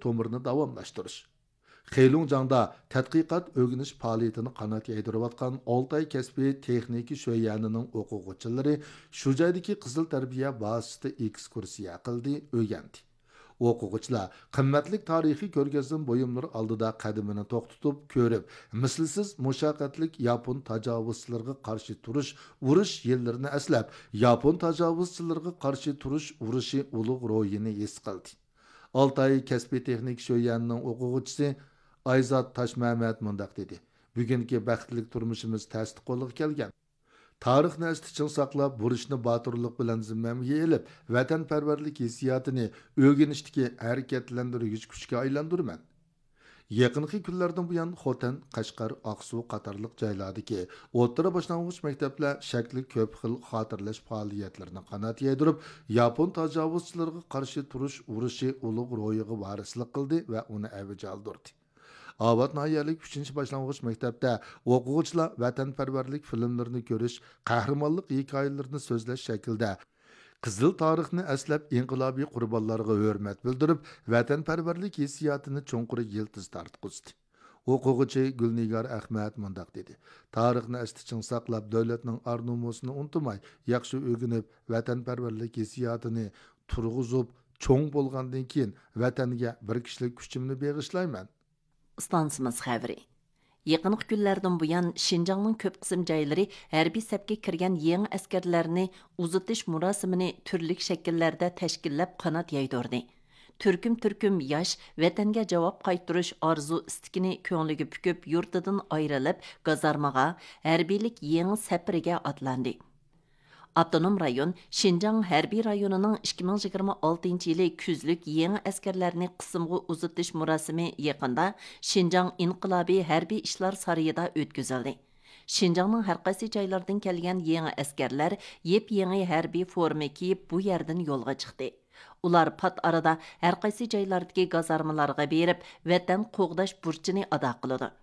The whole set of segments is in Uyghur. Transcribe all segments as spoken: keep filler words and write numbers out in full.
تومۇرىنى داۋاملاشتۇرۇش. خېلۇڭجاڭدا تەتقىقات ئۆگىنىش پائالىيىتىنى قانات يايدۇرۇۋاتقان ئالتاي كەسپىي تېخنىكا شۆيۈەنىنىڭ ئوقۇغۇچىلىرى شۇ جايدىكى قىزىل تەربىيە بازىسىدا ئېكسكۇرسىيە قىلدى، ئۆگەندى. ئوقۇغۇچىلار قىممەتلىك تارىخىي كۆرگەزمە بۇيۇملىرى ئالدىدا قەدىمىنى توختىتىپ كۆرۈپ، مىسلىسىز مۇشەققەتلىك ياپون تاجاۋۇزچىلىرىغا قارشى تۇرۇش ئۇرۇش يىللىرىنى ئەسلەپ، ياپون تاجاۋۇزچىلىرىغا قارشى تۇرۇش ئۇرۇشى ئۇلۇغ روھىنى ھېس قىلدى. ئالتاي كەسپىي تېخنىكا شۆيۈەنىنىڭ ئوقۇغۇچىسى ئايزات تاشمەمەت مۇنداق دېدى: بۈگۈنكى بەختلىك تۇرمۇشىمىز تەستە قولغا كەلگەن. تارىخنى ئەستە چىڭ ساقلاپ، بۇرچنى باتۇرلۇق بىلەن زىممەمگە ئېلىپ، ۋەتەنپەرۋەرلىك ھېسسىياتىنى ئۆگىنىشتىكى ھەرىكەتلەندۈرگۈچ كۈچكە ئايلاندۇرىمەن. يېقىنقى كۈنلەردىن بۇيان، خوتەن، قەشقەر، ئاقسۇ قاتارلىق جايلاردىكى ئوتتۇرا باشلانغۇچ مەكتەپلەر شەكلى كۆپ خىل خاتىرىلەش پائالىيەتلىرىنى قانات يايدۇرۇپ، ياپون تاجاۋۇزچىلىرىغا قارشى تۇرۇش ئۇرۇشى ئۇلۇغ روھىغا ۋارىسلىق قىلدى ۋە ئۇنى ئەۋج ئالدۇردى. ئاۋات ناھىيەلىك ئۈچىنچى باشلانغۇچ مەكتەپتە ئوقۇغۇچىلار ۋەتەنپەرۋەرلىك فىلىملىرىنى كۆرۈش، قەھرىمانلىق ھېكايىلىرىنى سۆزلەش شەكلىدە قىزىل تارىخنى ئەسلەپ، ئىنقىلابىي قۇربانلارغا ھۆرمەت بىلدۈرۈپ، ۋەتەنپەرۋەرلىك ھېسسىياتىنى چوڭقۇر يىلتىز تارتقۇزدى. ئوقۇغۇچى گۈلنىگار ئەخمەت مۇنداق دېدى: تارىخنى ئەستە چىڭ ساقلاپ، دۆلەتنىڭ ئار-نومۇسىنى ئۇنتۇماي، ياخشى ئۆگىنىپ، ۋەتەنپەرۋەرلىك ھېسسىياتىنى تۇرغۇزۇپ، چوڭ بولغاندىن كېيىن، ۋەتەنگە بىر كىشىلىك كۈچۈمنى بېغىشلايمەن. ئىستانسىمىز خەۋىرى. يېقىنقى كۈنلەردىن بۇيان، شىنجاڭنىڭ كۆپ قىسىم جايلىرى ھەربىي سەپكە كىرگەن يېڭى ئەسكەرلەرنى ئۇزىتىش مۇراسىمىنى تۈرلۈك شەكىللەردە تەشكىللەپ، قانات يايدۇردى. تۈركۈم-تۈركۈم ياش ۋەتەنگە جاۋاب قايتۇرۇش ئارزۇ-ئىستىكىنى كۆڭلىگە پۈكۈپ، يۇرتىدىن ئايرىلىپ، گازارمىغا، ھەربىيلىك يېڭى سەپىرىگە ئاتلاندى. ئاپتونوم رايون شىنجاڭ ھەربىي رايونىنىڭ ئىككى مىڭ يىگىرمە ئالتىنچى يىلى كۈزلۈك يېڭى ئەسكەرلەرنى قىسىمغا ئۇزىتىش مۇراسىمى يېقىندا شىنجاڭ ئىنقىلابىي ھەربىي ئىشلار سارىيىدا ئۆتكۈزۈلدى. شىنجاڭنىڭ ھەرقايسى جايلىرىدىن كەلگەن يېڭى ئەسكەرلەر يېپيېڭى ھەربىي فورما كىيىپ، بۇ يەردىن يولغا چىقتى. ئۇلار پات ئارىدا ھەرقايسى جايلاردىكى گازارمىلارغا بېرىپ، ۋەتەن قوغداش بۇرچىنى ئادا قىلىدۇ.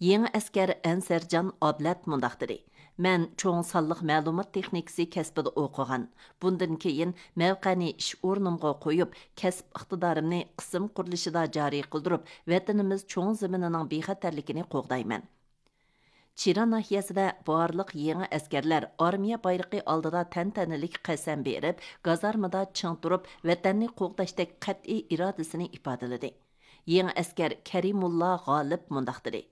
يېڭى ئەسكەر ئەنسەرجان ئابلەت مۇنداق دېدى: مەن چوڭ سانلىق مەلۇمات تېخنىكىسى كەسپىدە ئوقۇغان. بۇندىن كېيىن مەۋقەنى ئىش ئورنۇمغا قويۇپ، كەسىپ ئىقتىدارىمنى قىسىم قۇرۇلۇشىدا جارى قىلدۇرۇپ، ۋەتىنىمىز چوڭ زېمىنىنىڭ بىخەتەرلىكىنى قوغدايمەن. چىرا ناھىيەسىدە بارلىق يېڭى ئەسكەرلەر ئارمىيە بايرىقى ئالدىدا تەنتەنىلىك قەسەم بېرىپ، گازارمىدا چىڭ تۇرۇپ، ۋەتەننى قوغداشتەك قەتئىي ئىرادىسىنى ئىپادىلىدى. يېڭى ئەسكەر كەرىمۇللا غالىپ مۇنداق دېدى: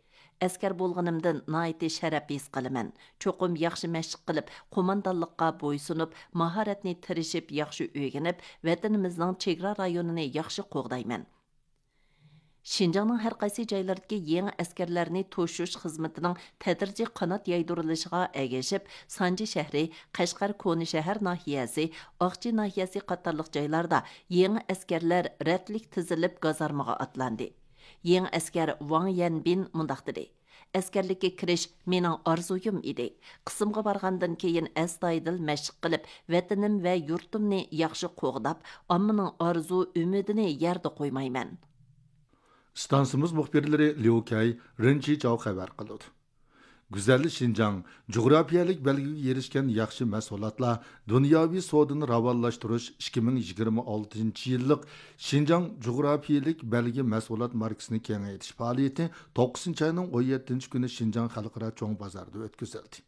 ئەسكەر بولغىنىمدىن ناھايىتى شەرەپ ھېس قىلىمەن. چوقۇم ياخشى مەشىق قىلىپ، قوماندانلىققا بويسۇنۇپ، ماھارەتنى تىرىشىپ ياخشى ئۆگىنىپ، ۋەتىنىمىزنىڭ چېگرا رايونىنى ياخشى قوغدايمەن. شىنجاڭنىڭ ھەرقايسى جايلىرىدىكى يېڭى ئەسكەرلەرنى توشۇش خىزمىتىنىڭ تەدرىجىي قانات يايدۇرۇلۇشىغا ئەگىشىپ، سانجى شەھىرى، قەشقەر كونا شەھەر ناھىيەسى، ئاقچى ناھىيەسى قاتارلىق جايلاردا يېڭى ئەسكەرلەر رەتلىك تىزىلىپ گازارمىغا ئاتلاندى. يېڭى ئەسكەر ۋاڭ يەنبىن مۇنداق دېدى: ئەسكەرلىككە كىرىش مېنىڭ ئارزۇيۇم ئىدى. قىسىمغا بارغاندىن كېيىن ئەستايىدىل مەشىق قىلىپ، ۋەتىنىم ۋە يۇرتۇمنى ياخشى قوغداپ، ئاممىنىڭ ئارزۇ ئۈمىدىنى يەردە قويمايمەن. ئىستانسىمىز مۇخبىرلىرى ليۇ كەي، رېن چىچاۋ خەۋەر قىلىدۇ. گۈزەل شىنجاڭ، جۇغراپىيەلىك بەلگىگە ئېرىشكەن ياخشى مەھسۇلاتلار دۇنياۋى سودىنى راۋانلاشتۇرۇش ئىككى مىڭ يىگىرمە ئالتىنچى يىللىق شىنجاڭ جۇغراپىيەلىك بەلگە مەھسۇلات ماركىسىنى كېڭەيتىش پائالىيىتى توققۇزىنچى ئاينىڭ ئون يەتتىنچى كۈنى شىنجاڭ خەلقئارا چوڭ بازاردا ئۆتكۈزۈلدى.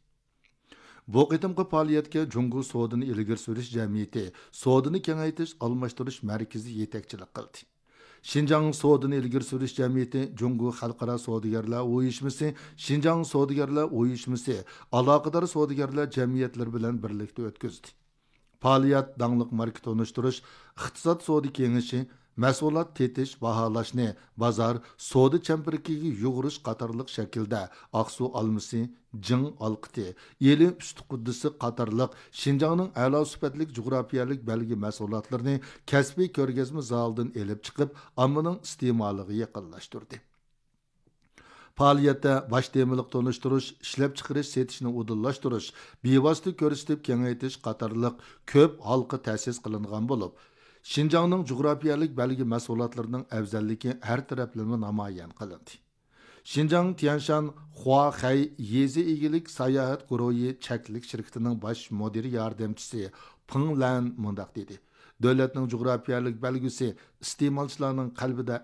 بۇ قېتىمقى پائالىيەتكە جۇڭگو سودىنى ئىلگىرى سۈرۈش جەمئىيىتى سودىنى كېڭەيتىش ئالماشتۇرۇش مەركىزى يېتەكچىلىك قىلدى. شىنجاڭ سودىنى ئىلگىرى سۈرۈش جەمئىيىتى، جۇڭگو خەلقئارا سودىگەرلەر ئۇيۇشمىسى، شىنجاڭ سودىگەرلەر ئۇيۇشمىسى، ئالاقىدار سودىگەرلەر جەمئىيەتلىرى بىلەن بىرلىكتە ئۆتكۈزدى. پائالىيەت داڭلىق ماركا تونۇشتۇرۇش، ئىقتىساد سودا كېڭىشى، مەھسۇلات تېتىش، باھالاشنى، بازار، سودا چەمبىرىكىگە يۇغۇرۇش قاتارلىق شەكىلدە ئاقسۇ ئالمىسى، جىڭ ئالقىتى، ئىلى ئۈستى قۇددىسى قاتارلىق شىنجاڭنىڭ ئەلا سۈپەتلىك جۇغراپىيەلىك بەلگە مەھسۇلاتلىرىنى كەسپىي كۆرگەزمە زالىدىن ئېلىپ چىقىپ، ئاممىنىڭ ئىستېمالىغا يېقىنلاشتۇردى. پائالىيەتتە باش تېمىلىق تونۇشتۇرۇش، ئىشلەپچىقىرىش، سېتىشنى ئۇدۇللاشتۇرۇش، بىۋاسىتە كۆرسىتىپ كېڭەيتىش قاتارلىق كۆپ ھالقا تەسىس قىلىنغان بولۇپ، شىنجاڭنىڭ جۇغراپىيەلىك بەلگە مەھسۇلاتلىرىنىڭ ئەۋزەللىكى ھەر تەرەپلىمە نامايان قىلىندى. شىنجاڭ تيەنشان خۇاخەي يېزا ئىگىلىك ساياھەت گۇرۇھى چەكلىك شىركىتىنىڭ باش مۇدىر ياردەمچىسى پېڭ لەن مۇنداق دېدى: دۆلەتنىڭ جۇغراپىيەلىك بەلگىسى ئىستېمالچىلارنىڭ قەلبىدە